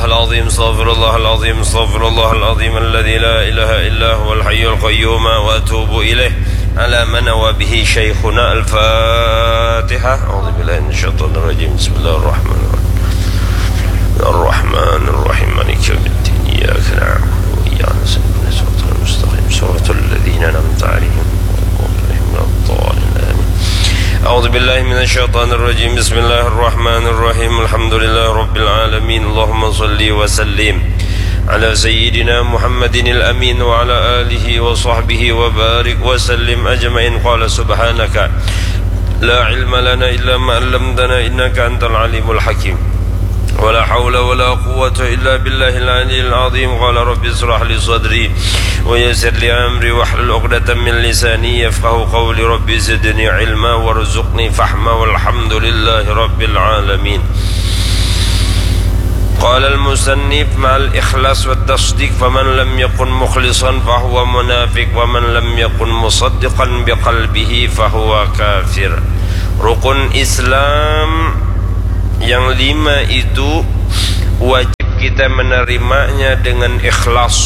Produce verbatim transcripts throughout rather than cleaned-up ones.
العظيم، أستغفر الله العظيم، أستغفر الله العظيم الذي لا إله إلا هو الحي القيوم وأتوب إليه. على ما نوى به شيخنا. الفاتحة. أعوذ بالله من الشيطان الرجيم. بسم الله الرحمن الرحيم. الرحمن الرحيم. مالك يوم الدين. إياك نعبد وإياك نستعين. اهدنا الصراط المستقيم. صراط الذين أنعمت عليهم غير المغضوب عليهم ولا الضالين. آمين. أعوذ بالله من الشيطان الرجيم. بسم الله الرحمن الرحيم. الحمد لله رب العالمين. اللهم صل وسلم على سيدنا محمد الأمين وعلى آله وصحبه وبارك وسلم أجمعين. قال سبحانك لا علم لنا إلا ما علمتنا إنك أنت العليم الحكيم. ولا حول ولا قوة إلا بالله العلي العظيم. قال رب اشرح لي صدري ويسر لي أمري واحلل عقدة من لساني يفقهوا قولي. رب زدني علما وارزقني فهما والحمد لله رب العالمين. قال المصنف مع الإخلاص والتصديق، فمن لم يكن مخلصا فهو منافق، ومن لم يكن مصدقا بقلبه فهو كافر. Rukun Islam yang lima itu wajib kita menerimanya dengan ikhlas.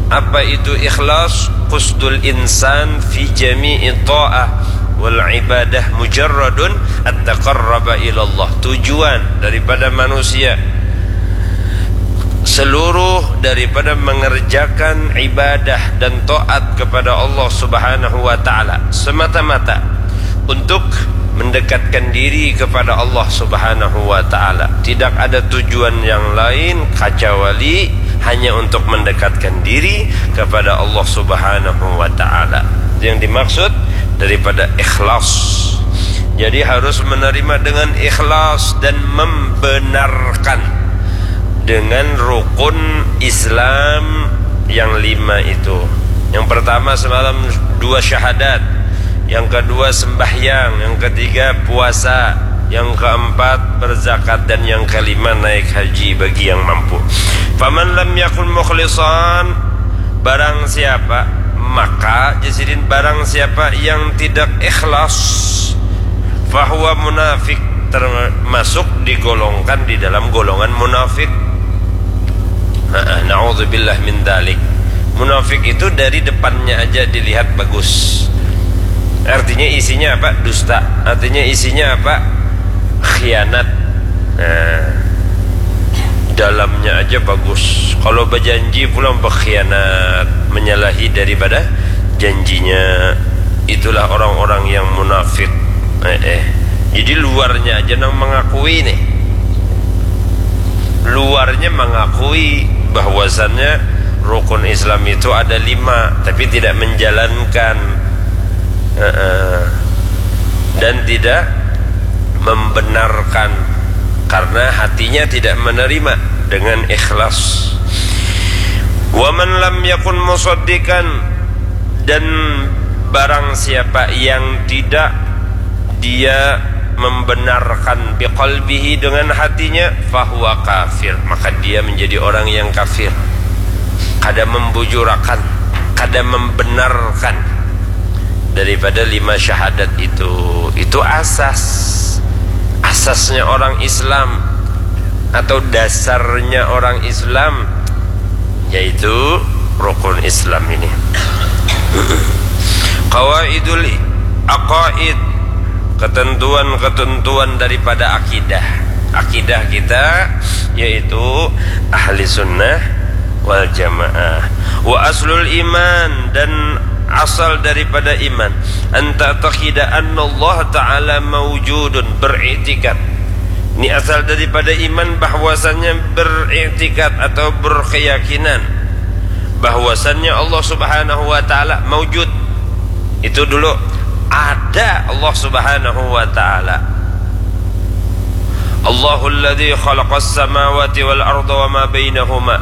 Apa itu ikhlas? Qusdul insan fi jami'i ta'ah wal ibadah mujarradun at-taqarraba ilallah. Tujuan daripada manusia seluruh daripada mengerjakan ibadah dan taat kepada Allah Subhanahu wa Ta'ala semata-mata untuk mendekatkan diri kepada Allah Subhanahu wa Ta'ala. Tidak ada tujuan yang lain kecuali hanya untuk mendekatkan diri kepada Allah Subhanahu wa Ta'ala. Yang dimaksud daripada ikhlas. Jadi, harus menerima dengan ikhlas dan membenarkan dengan rukun Islam yang lima itu. Yang pertama, semalam dua syahadat. Yang kedua, sembahyang. Yang ketiga, puasa. Yang keempat, berzakat. Dan yang kelima, naik haji bagi yang mampu. Faman lam yakun mukhlisan, barang siapa, maka, jar sidin, barang siapa yang tidak ikhlas, fahuwa munafik, termasuk digolongkan di dalam golongan munafik. Heeh, naudzubillah min dalik. Munafik itu dari depannya aja dilihat bagus. Artinya isinya apa? Dusta. Artinya isinya apa? Khianat. Nah, dalamnya aja bagus. Kalau berjanji pulang berkhianat, menyalahi daripada janjinya. Itulah orang-orang yang munafik. Eh, eh. Jadi luarnya aja nang mengakui nih. Luarnya mengakui bahwasannya rukun Islam itu ada lima, tapi tidak menjalankan. Eh, eh. Dan tidak membenarkan karena hatinya tidak menerima dengan ikhlas. Waman lam yakun musaddiqan, dan barang siapa yang tidak dia membenarkan biqalbihi dengan hatinya, fahuwa kafir, maka dia menjadi orang yang kafir. Kada membujurakan, kada membenarkan daripada lima syahadat itu. Itu asas, asasnya orang Islam atau dasarnya orang Islam, yaitu rukun Islam ini. Qawaidul aqaid, ketentuan-ketentuan daripada akidah. Akidah kita yaitu ahli sunnah wal jamaah. Wa aslul iman, dan asal daripada iman, an ta'taqida anna Allah ta'ala maujudun, beriktikad. Ini asal daripada iman, bahwasannya beriktikad atau berkeyakinan bahwasannya Allah Subhanahu wa Ta'ala maujud. Itu dulu, ada Allah Subhanahu wa Ta'ala. Allahul ladzi khalaqas samawati wal arda wa ma bainahuma.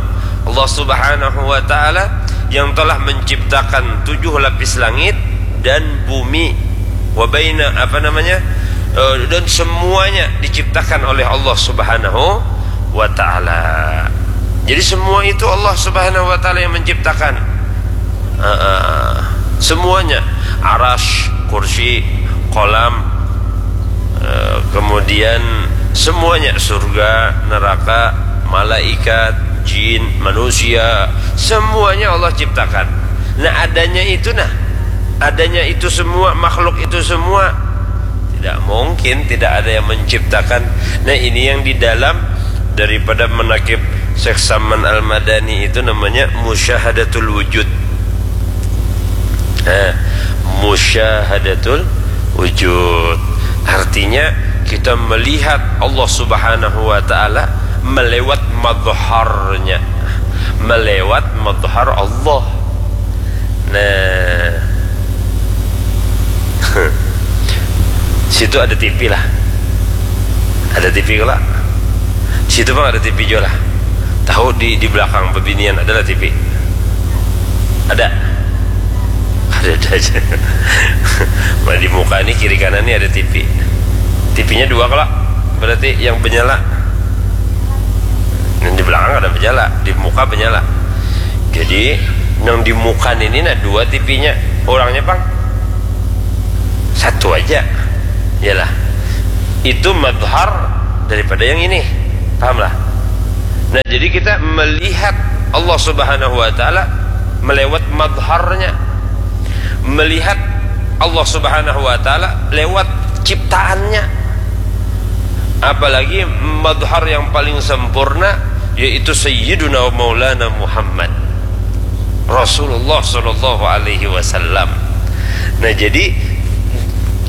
Allah Subhanahu wa Ta'ala yang telah menciptakan tujuh lapis langit dan bumi. Wa baina, apa namanya? Eh, dan semuanya diciptakan oleh Allah Subhanahu wa Ta'ala. Jadi semua itu Allah Subhanahu wa Ta'ala yang menciptakan. Eh, eh, semuanya, aras, kursi, kolam, eh, kemudian semuanya, surga, neraka, malaikat, jin, manusia, semuanya Allah ciptakan. Nah, adanya itu, nah, adanya itu semua, makhluk itu semua, tidak mungkin tidak ada yang menciptakan. Nah, ini yang di dalam daripada manakib Syekh Saman Al-Madani itu namanya musyahadatul wujud. Nah, musyahadatul wujud. Artinya, kita melihat Allah Subhanahu wa Ta'ala melewat madharnya, melewat madhar Allah. Nah, situ ada T V lah. Ada T V kala. Situ pang ada T V jua lah. Tahu, di di belakang bebinian adalah T V. Ada. Ada ada aja. Nah, di muka ni, kiri kanan ni ada T V. T V-nya dua kala. Berarti yang benyala. Yang di belakang ada benyala, di muka benyala. Jadi, yang di muka ini, nah, dua T V-nya. Orangnya pang satu aja. Yalah. Itu madhar daripada yang ini. Pahamlah? Nah, jadi kita melihat Allah Subhanahu wa Ta'ala melewat madharnya. Melihat Allah Subhanahu wa Ta'ala lewat ciptaannya. Apalagi madhar yang paling sempurna, yaitu Sayyiduna wa Maulana Muhammad, Rasulullah Sallallahu Alaihi Wasallam. Nah, jadi,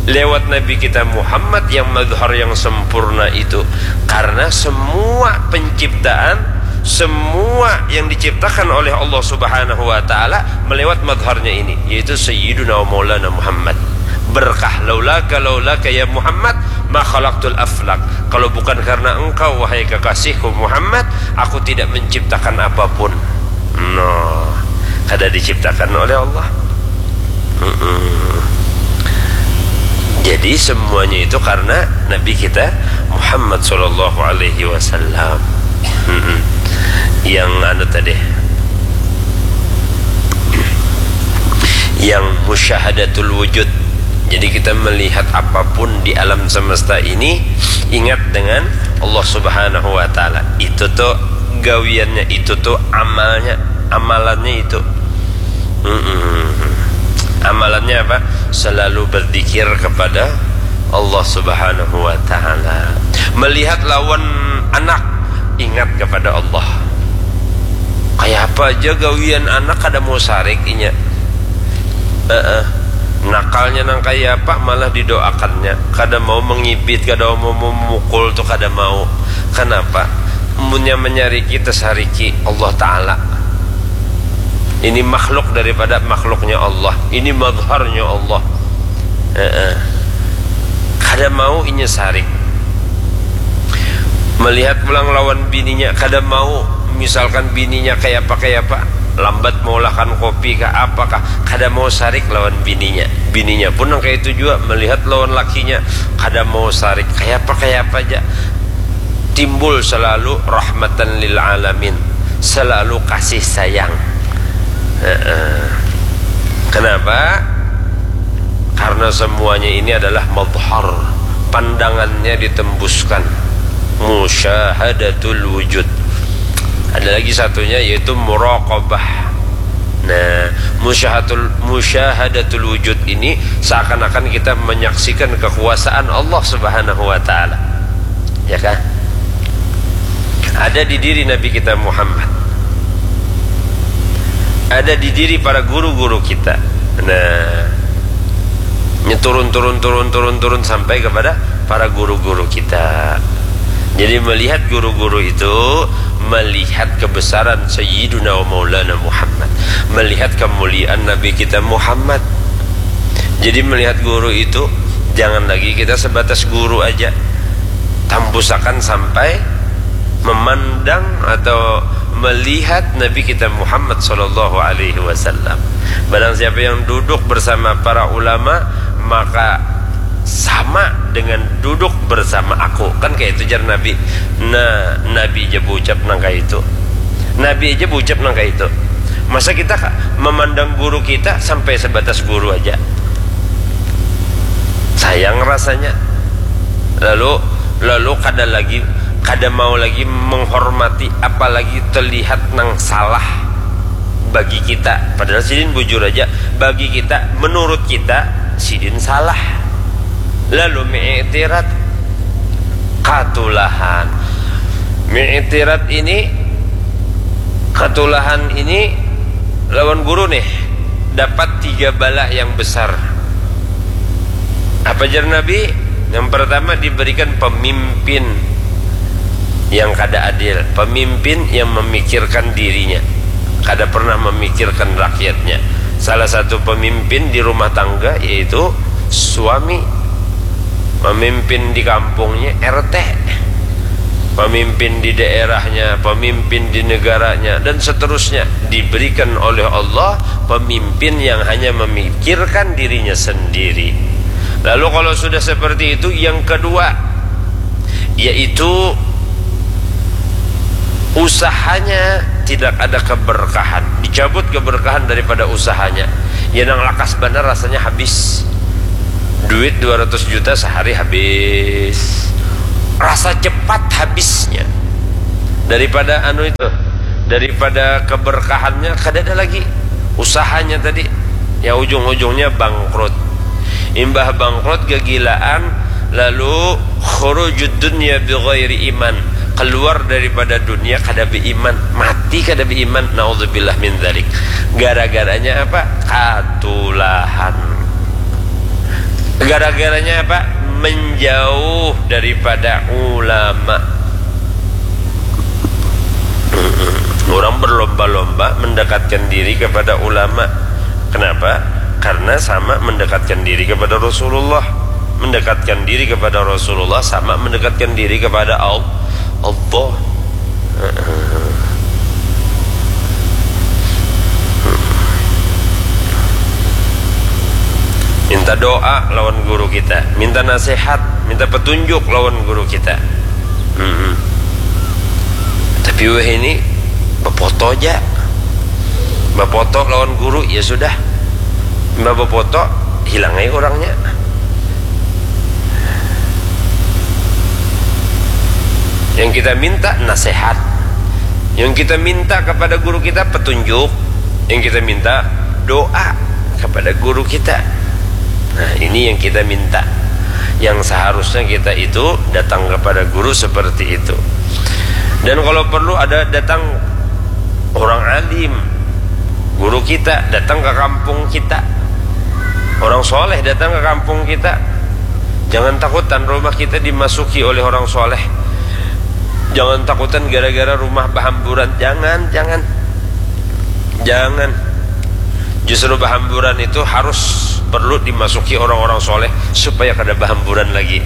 lewat Nabi kita Muhammad yang madhar yang sempurna itu, karena semua penciptaan, semua yang diciptakan oleh Allah Subhanahu wa Ta'ala melewat madharnya ini, yaitu Sayyiduna wa Maulana Muhammad. Berkah, laulaka, laulaka ya Muhammad, ma khalaqtul aflak. Kalau bukan karena engkau, wahai kekasihku Muhammad, aku tidak menciptakan apapun. Nah, kada diciptakan oleh Allah. Mm-mm. Jadi, semuanya itu karena Nabi kita Muhammad Sallallahu Alaihi Wasallam. Mm-mm. Yang anu tadi, yang musyahadatul wujud. Jadi, kita melihat apapun di alam semesta ini, ingat dengan Allah Subhanahu wa Ta'ala. Itu tuh gawiannya, itu tuh amalnya, amalannya itu. Mm-mm. Amalannya apa? Selalu berzikir kepada Allah Subhanahu wa Ta'ala. Melihat lawan anak, ingat kepada Allah. Kayak apa aja gawian anak, kada mau sarik inya. Heeh. Nakalnya nang kaya apa, malah didoakannya. Kada mau mengibit, kada mau memukul tuh, kada mau. Kenapa? Munnya menyariki, tesariki Allah Ta'ala. Ini makhluk daripada makhluknya Allah. Ini madharnya Allah. Heeh. Kada mau inya sarik. Melihat pulang lawan bininya, kada mau. Misalkan bininya kaya apa, kaya apa, lambat maulahkan kopi kah, apa kah, kada mau sarik lawan bininya. Bininya pun nang kaya itu jua, melihat lawan lakinya, kada mau sarik, kaya apa, kaya apa ja. Timbul selalu rahmatan lil alamin, selalu kasih sayang. Heeh. Kenapa? Karena semuanya ini adalah madhar, pandangannya ditembuskan. Musyahadatul wujud. Ada lagi satunya, yaitu muraqabah. Nah, musyahadatul, musyahadatul wujud ini seakan-akan kita menyaksikan kekuasaan Allah Subhanahu wa Ta'ala. Ya kan? Ada di diri Nabi kita Muhammad. Ada di diri para guru-guru kita. Nah, nya turun, turun, turun, turun, turun sampai kepada para guru-guru kita. Jadi, melihat guru-guru itu, melihat kebesaran Sayyiduna wa Maulana Muhammad, melihat kemuliaan Nabi kita Muhammad. Jadi, melihat guru itu, jangan lagi kita sebatas guru aja. Tambusakan sampai memandang atau melihat Nabi kita Muhammad Sallallahu Alaihi Wasallam. Barang siapa yang duduk bersama para ulama, maka sama dengan duduk bersama aku. Kan kaya itu jar Nabi. Nah, Nabi aja bucap nang kaya itu. Nabi aja bucap nang kaya itu. Masa kita ka-, memandang guru kita sampai sebatas guru aja? Sayang rasanya. Lalu, lalu kada lagi, kada mau lagi menghormati, apalagi terlihat nang salah bagi kita. Padahal sidin bujur aja, bagi kita, menurut kita, sidin salah. Lalu mi'tirat, katulahan. Mi'tirat ini, katulahan ini lawan guru nih, dapat tiga bala yang besar. Apa jar Nabi? Yang pertama, diberikan pemimpin yang kada adil, pemimpin yang memikirkan dirinya, kada pernah memikirkan rakyatnya. Salah satu pemimpin di rumah tangga yaitu suami, memimpin di kampungnya R T, pemimpin di daerahnya, pemimpin di negaranya, dan seterusnya. Diberikan oleh Allah pemimpin yang hanya memikirkan dirinya sendiri. Lalu kalau sudah seperti itu, yang kedua, yaitu usahanya tidak ada keberkahan, dicabut keberkahan daripada usahanya. Ya, nang lakas banar rasanya habis. Duit dua ratus juta sehari habis. Rasa cepat habisnya. Daripada anu itu, daripada keberkahannya kada ada lagi. Usahanya tadi, ya, ujung-ujungnya bangkrut. Imbah bangkrut, gegilaan, lalu khurujud dunya bi ghairi iman, keluar daripada dunia kada beiman, mati kada beiman, naudzubillah min dzalik. Gara-garanya apa? Katulahan. Gara-garanya apa? Menjauh daripada ulama. Orang berlomba-lomba mendekatkan diri kepada ulama. Kenapa? Karena sama mendekatkan diri kepada Rasulullah. Mendekatkan diri kepada Rasulullah sama mendekatkan diri kepada Al-, Allah. Minta doa lawan guru kita, minta nasihat, minta petunjuk lawan guru kita. Mm-mm. Tapi wahini bapoto aja, bapoto lawan guru, ya sudah, mbah bapoto, hilang aja orangnya. Yang kita minta nasihat, yang kita minta kepada guru kita petunjuk, yang kita minta doa kepada guru kita. Nah, ini yang kita minta. Yang seharusnya kita itu datang kepada guru seperti itu. Dan kalau perlu ada datang orang alim, guru kita datang ke kampung kita, orang soleh datang ke kampung kita. Jangan takutan rumah kita dimasuki oleh orang soleh. Jangan takutan gara-gara rumah bahamburan. Jangan, jangan. Jangan. Justru bahamburan itu harus perlu dimasuki orang-orang soleh supaya kada bahamburan lagi.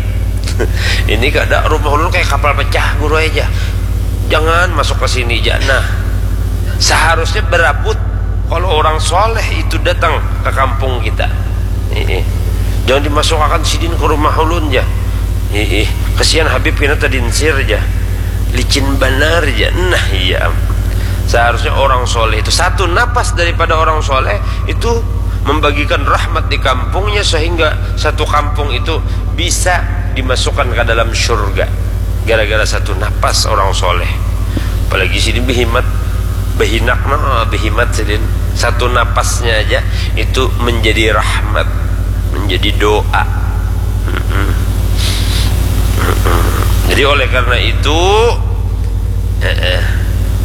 Ini kada, rumah ulun kayak kapal pecah, guru aja. Jangan masuk ke sini, ja. Nah, seharusnya berabut kalau orang soleh itu datang ke kampung kita. Ih, jangan dimasukakan sidin ke rumah ulun, ja. Ih, kesian Habib kena tadinsir, ja. Licin banar, ja. Nah, iya. Seharusnya orang soleh itu, satu napas daripada orang soleh itu membagikan rahmat di kampungnya, sehingga satu kampung itu bisa dimasukkan ke dalam surga gara-gara satu napas orang soleh. Apalagi sidin behimat, behinak, nah, behimat sidin. Satu napasnya aja itu menjadi rahmat, menjadi doa. Mm-mm. Mm-mm. Jadi oleh karena itu, eh, eh,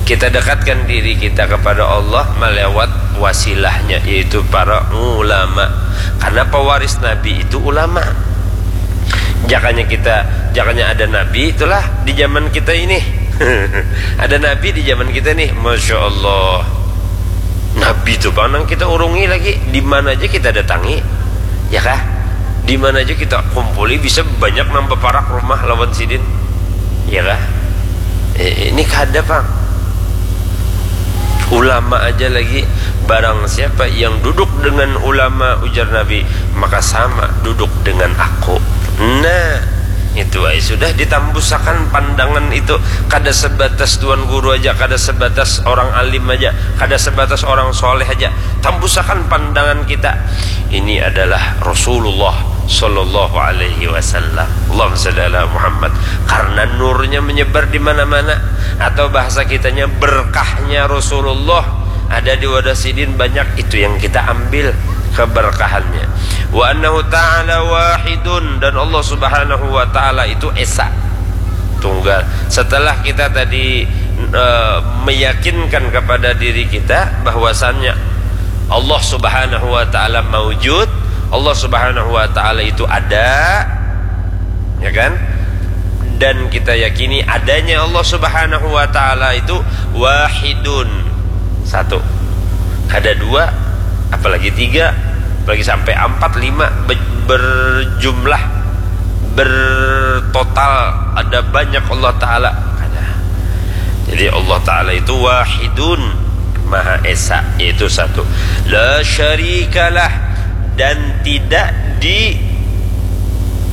kita dekatkan diri kita kepada Allah melewat wasilahnya, yaitu para ulama. Karena pewaris Nabi itu ulama. Jakanya kita, jakanya ada Nabi, itulah di zaman kita ini. Ada Nabi di zaman kita nih, Masya Allah. Nabi itu pang nang kita urungi lagi, di mana aja kita datangi, ya kah? Di mana aja kita kumpuli, bisa banyak nang baparak rumah lawan sidin, ya kah? Eh, ini kada pang. Ulama aja lagi, barang siapa yang duduk dengan ulama, ujar Nabi, maka sama duduk dengan aku. Nah, itu ai sudah ditambusakan pandangan itu, kada sebatas tuan guru aja, kada sebatas orang alim aja, kada sebatas orang soleh aja. Tambusakan pandangan kita. Ini adalah Rasulullah Sallallahu alaihi wasallam. Allahumma salli ala Muhammad. Karena nurnya menyebar di mana-mana, atau bahasa kitanya, berkahnya Rasulullah ada di wadah sidin banyak, itu yang kita ambil keberkahannya. Wa annahu ta'ala wahidun, dan Allah Subhanahu wa Ta'ala itu esa, tunggal. Setelah kita tadi, eh, meyakinkan kepada diri kita bahwasannya Allah Subhanahu wa Ta'ala maujud, Allah Subhanahu wa Ta'ala itu ada, ya kan? Dan kita yakini adanya Allah Subhanahu wa Ta'ala itu wahidun, satu. Kada dua, apalagi tiga, apalagi sampai empat, lima, be-, berjumlah, bertotal, ada banyak Allah Ta'ala. Kada. Jadi Allah Ta'ala itu wahidun, Maha Esa, yaitu satu. La syarikalah, dan tidak di,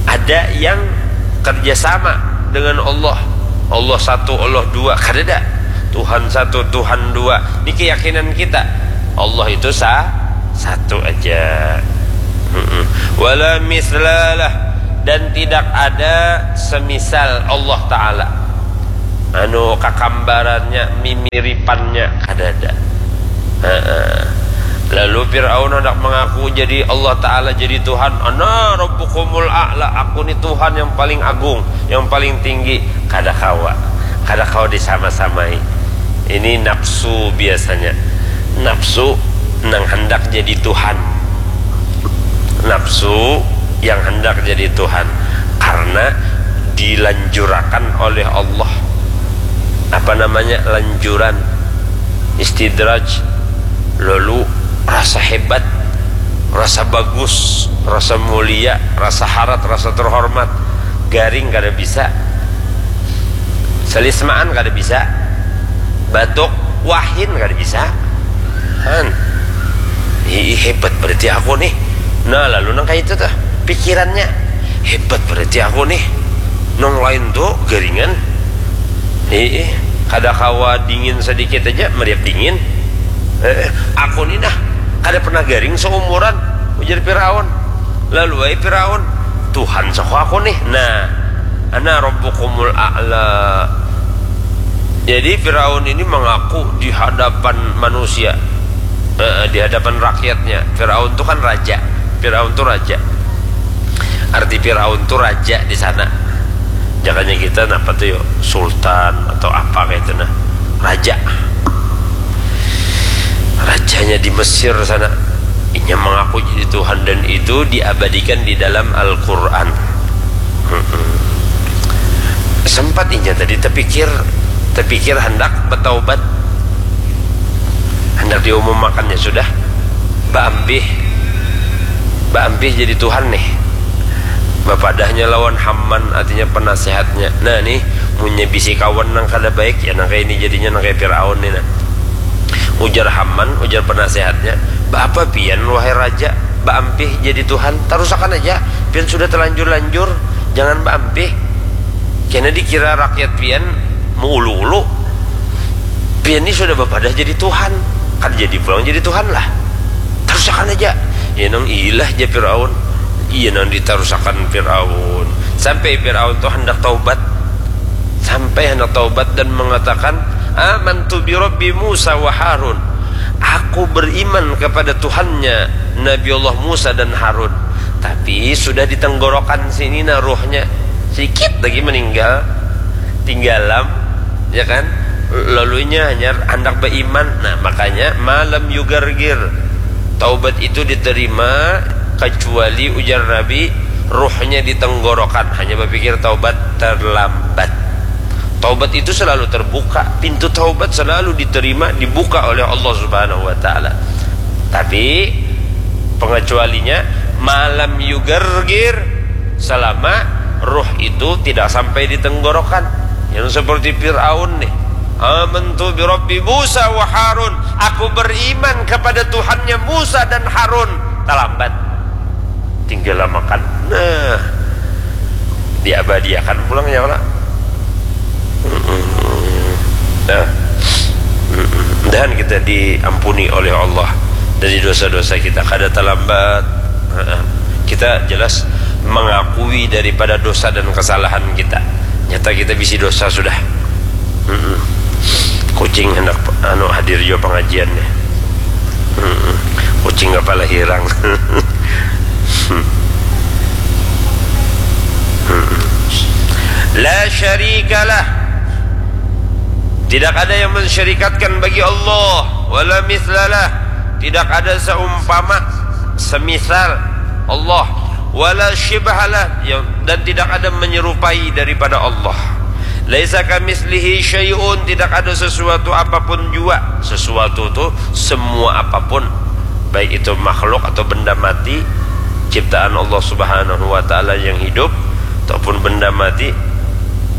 ada yang kerjasama dengan Allah. Allah satu, Allah dua, kadada. Tuhan satu, Tuhan dua. Ini keyakinan kita. Allah itu sa-, satu aja. Mm-mm. Wala mislalah, dan tidak ada semisal Allah Ta'ala. Anu, kakambarannya, mimiripannya, kadada. Heeh. Lalu Fir'aun hendak mengaku jadi Allah Ta'ala, jadi Tuhan. "Ana rabbukumul a'la, aku ni Tuhan yang paling agung, yang paling tinggi." Kada kawa. Kada kawa disama-samai. Ini nafsu biasanya. Nafsu nang hendak jadi Tuhan. Nafsu yang hendak jadi Tuhan. Karena dilanjurakan oleh Allah. Apa namanya? Lanjuran. Istidraj. Lalu rasa hebat, rasa bagus, rasa mulia, rasa harat, rasa terhormat. Garing kada bisa. Selismaan kada bisa. Batuk, wahin kada bisa. Han. Ih, hebat berarti aku nih. Nah, lalu nang kayak itu tuh pikirannya. Hebat berarti aku nih. Nang lain tuh garingan. Ih, kada kawa dingin sedikit aja, meriap dingin. Eh, aku ni nah, kada pernah garing seumuran, ujar Firaun. Lalu ai Firaun, "Tuhan sako aku nih." Nah, "Ana rabbukumul a'la." Jadi Firaun ini mengaku di hadapan manusia. Eh, di hadapan rakyatnya. Firaun tuh kan raja. Firaun tuh raja. Arti Firaun tuh raja di sana. Jangannya kita napa tuh yo, sultan atau apa kayak itu nah. Raja. Rajanya di Mesir sana. Inya mengaku jadi Tuhan dan itu diabadikan di dalam Al-Quran. Mm-mm. Sempat inya tadi terpikir, terpikir hendak bertaubat, hendak diumumkannya sudah, baampih, baampih jadi Tuhan nih. Bapadahnya lawan Haman, artinya penasehatnya. Nah nih, munnya bisi kawan nang kada baik, ya nang kayak ini jadinya, nang kayak Firaun nih nah. Ujar Haman, ujar penasehatnya, "Baapa pian, wahai raja, baampih jadi Tuhan? Tarusakan aja, pian sudah terlanjur-lanjur, jangan baampih. Kena dikira rakyat pian meulu-ulu. Pian ni sudah bapadah jadi Tuhan, kada jadi pulang jadi Tuhan lah. Tarusakan aja." Ya nang ilah ja Firaun. Iya nang ditarusakan Firaun. Sampai Firaun tuh hendak taubat. Sampai hendak taubat dan mengatakan, "Amantu bi Rabbi Musa wa Harun." "Aku beriman kepada Tuhannya Nabi Allah Musa dan Harun." Tapi sudah ditenggorokan sini nah ruhnya. Sedikit lagi meninggal. Tinggalam, ya kan? Lalunya hanya hendak beriman. Nah, makanya malam yugargir. Taubat itu diterima kecuali ujar Nabi, ruhnya ditenggorokan. Hanya berpikir taubat terlambat. Taubat itu selalu terbuka, pintu taubat selalu diterima, dibuka oleh Allah Subhanahu wa Ta'ala. Tapi pengecualinya, malam yugargir, selama ruh itu tidak sampai ditenggorokan. Yang seperti Firaun nih, "Amantu bi Rabbi Musa wa Harun." "Aku beriman kepada Tuhannya Musa dan Harun." Terlambat. Tinggal lamakan. Nah, diabadiakan pulang ya Allah. Mm-mm. Nah, mm-mm. Mudahan kita diampuni oleh Allah dari dosa-dosa kita. Kada terlambat. Heeh. Kita jelas mengakui daripada dosa dan kesalahan kita. Nyata kita bisi dosa sudah. Mm-mm. Kucing hendak anu hadir jua pengajian nih. Mm-mm. Kucing kepala hirang. Mm-mm. La syarikalah. Tidak ada yang mensyarikatkan bagi Allah. Wala mislalah. Tidak ada seumpama, semisal Allah. Wala syibhalah, yang, dan tidak ada menyerupai daripada Allah. Laisa kamislihi syai'un, tidak ada sesuatu apapun jua. Sesuatu tu semua apapun, baik itu makhluk atau benda mati, ciptaan Allah Subhanahu wa Ta'ala yang hidup ataupun benda mati,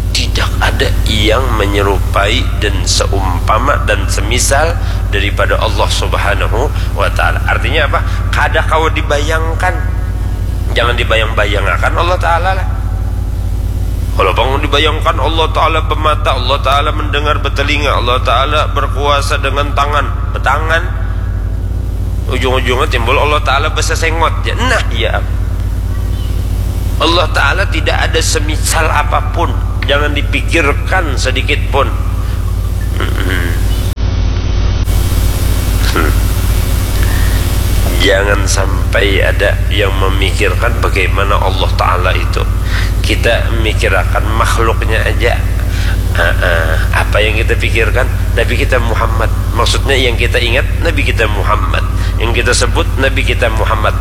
tidak ada yang menyerupai dan seumpama dan semisal daripada Allah Subhanahu wa Ta'ala. Artinya apa? Kada kawa dibayangkan. Jangan dibayang-bayangakan Allah Ta'ala lah. Kalau pang dibayangkan Allah Ta'ala bemata, Allah Ta'ala mendengar, betelinga, Allah Ta'ala berkuasa dengan tangan, betangan, ujung-ujungnya timbul Allah Ta'ala besesengot ja. Nah, ya. Allah Ta'ala tidak ada semisal apapun. Jangan dipikirkan sedikit pun. Hmm. Jangan sampai ada yang memikirkan bagaimana Allah Ta'ala itu. Kita mikirakan makhluknya aja. Ah, ah. Apa yang kita pikirkan? Nabi kita Muhammad. Maksudnya yang kita ingat Nabi kita Muhammad. Yang kita sebut Nabi kita Muhammad.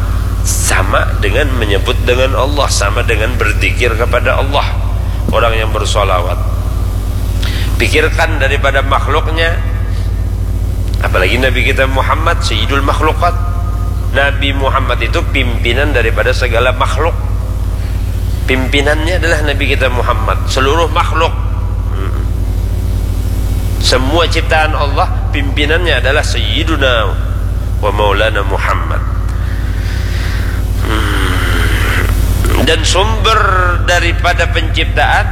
Sama dengan menyebut dengan Allah, sama dengan berzikir kepada Allah. Orang yang bersolawat. Pikirkan daripada makhluknya. Apalagi Nabi kita Muhammad, Sayyidul Makhlukat. Nabi Muhammad itu pimpinan daripada segala makhluk. Pimpinannya adalah Nabi kita Muhammad. Seluruh makhluk. Hmm. Semua ciptaan Allah, pimpinannya adalah Sayyiduna wa Maulana Muhammad. Hmm. Dan sumber daripada penciptaan,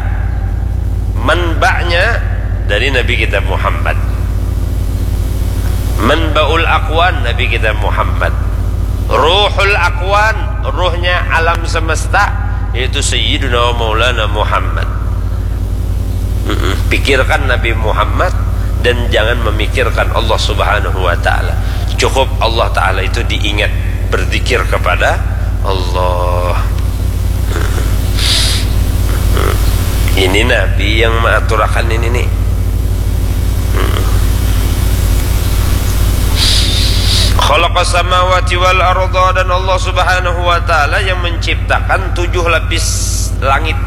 manba'nya dari Nabi kita Muhammad. Manba'ul akwan, Nabi kita Muhammad. Ruhul akwan, ruhnya alam semesta, yaitu Sayyiduna wa Maulana Muhammad. Mm-mm. Pikirkan Nabi Muhammad dan jangan memikirkan Allah Subhanahu wa Ta'ala. Cukup Allah Ta'ala itu diingat, berzikir kepada Allah. Ini Nabi yang mengaturakan ini nih. Khalaqas samawati wal arda, dan Allah Subhanahu wa Ta'ala yang menciptakan tujuh lapis langit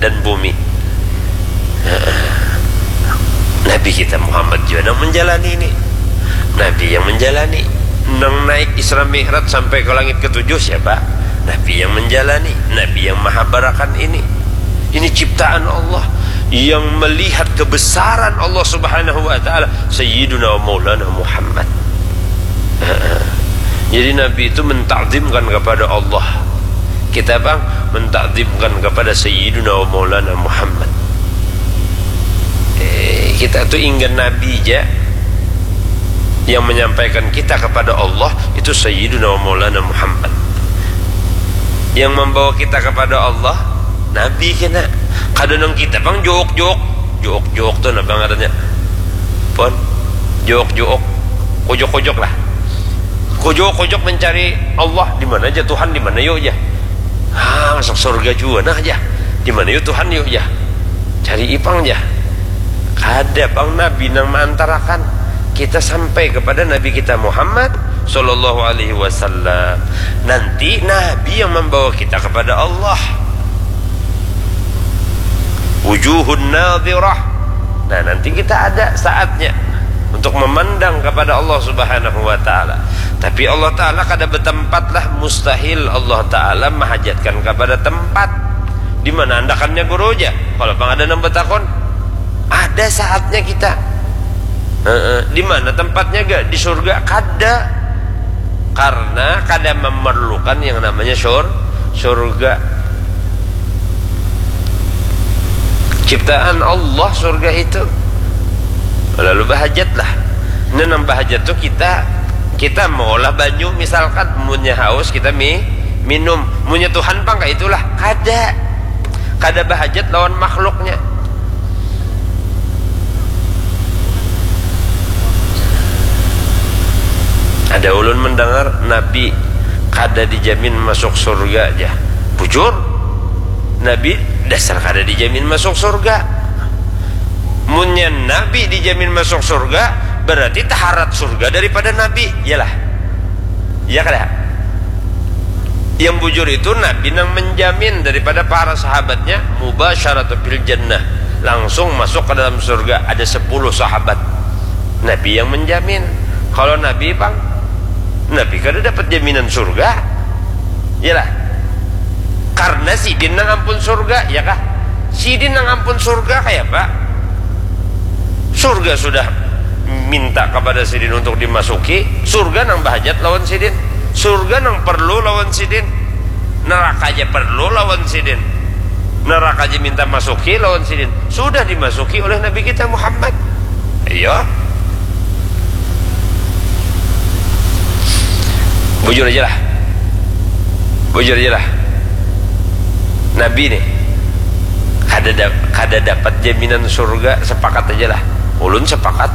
dan bumi. Nabi kita Muhammad juga nang menjalani ini. Nabi yang menjalani. Nang naik Isra Mi'raj sampai ke langit ketujuh siapa? Nabi yang menjalani. Nabi yang mahabarakan ini. Ini ciptaan Allah. Yang melihat kebesaran Allah Subhanahu wa Ta'ala, Sayyiduna wa Maulana Muhammad. Jadi Nabi itu mentakzimkan kepada Allah. Kita bang mentakzimkan kepada Sayyiduna wa Maulana Muhammad. Eh, kita tu inggan Nabi ja. Yang menyampaikan kita kepada Allah itu Sayyiduna wa Maulana Muhammad. Yang membawa kita kepada Allah Nabi kena. Kada nang kita bang jook-jook. Jook-jook tu nah bang adanya. Pon. Jook-jook. Kojok-kojok lah. Kojok-kojok mencari Allah di mana aja, Tuhan di mana yuk aja. Ah, masuk surga juga nah aja. Di mana yuk Tuhan yuk aja. Cari ipang aja. Kada pang Nabi nang maantarakan kita sampai kepada Nabi kita Muhammad sallallahu alaihi wasallam. Nanti Nabi yang membawa kita kepada Allah. Wujuhun nadirah. Nah, nanti kita ada saatnya untuk memandang kepada Allah Subhanahu wa Ta'ala. Tapi Allah Ta'ala kada bertempat lah, mustahil Allah Ta'ala mahajatkan kepada tempat. Di mana andakannya guru aja? Kalau pang ada nang betakon, ada saatnya kita. Heeh. Di mana tempatnya gak? Di surga? Kada. Karena kada memerlukan yang namanya sur surga. Ciptaan Allah surga itu. Lalu bahajat lah. Nah, nang bahajat tu kita, kita maulah banyu misalkan, munnya haus kita mi minum. Munnya Tuhan pang kaitulah, kada. Kada bahajat lawan makhluknya. Ada ulun mendengar Nabi kada dijamin masuk surga ja. Bujur, Nabi dasar kada dijamin masuk surga. Munnya Nabi dijamin masuk surga, berarti taharat surga daripada Nabi, iyalah. Iya kada? Yang bujur itu Nabi nang menjamin daripada para sahabatnya mubasyaratu fil jannah, langsung masuk ke dalam surga. Ada sepuluh sahabat, Nabi yang menjamin. Kalau Nabi pang, Nabi kada dapat jaminan surga. Iyalah. Karena sidin nang ampun surga, ya kah? Sidin nang ampun surga kaya apa? Surga sudah minta kepada sidin untuk dimasuki, surga nang bahajat lawan sidin, surga nang perlu lawan sidin, neraka aja perlu lawan sidin, neraka aja minta masuki lawan sidin, sudah dimasuki oleh Nabi kita Muhammad. Iya. Bujur aja lah. Bujur aja lah. Nabi nih kada da- kada dapat jaminan surga, sepakat aja lah. Ulun sepakat.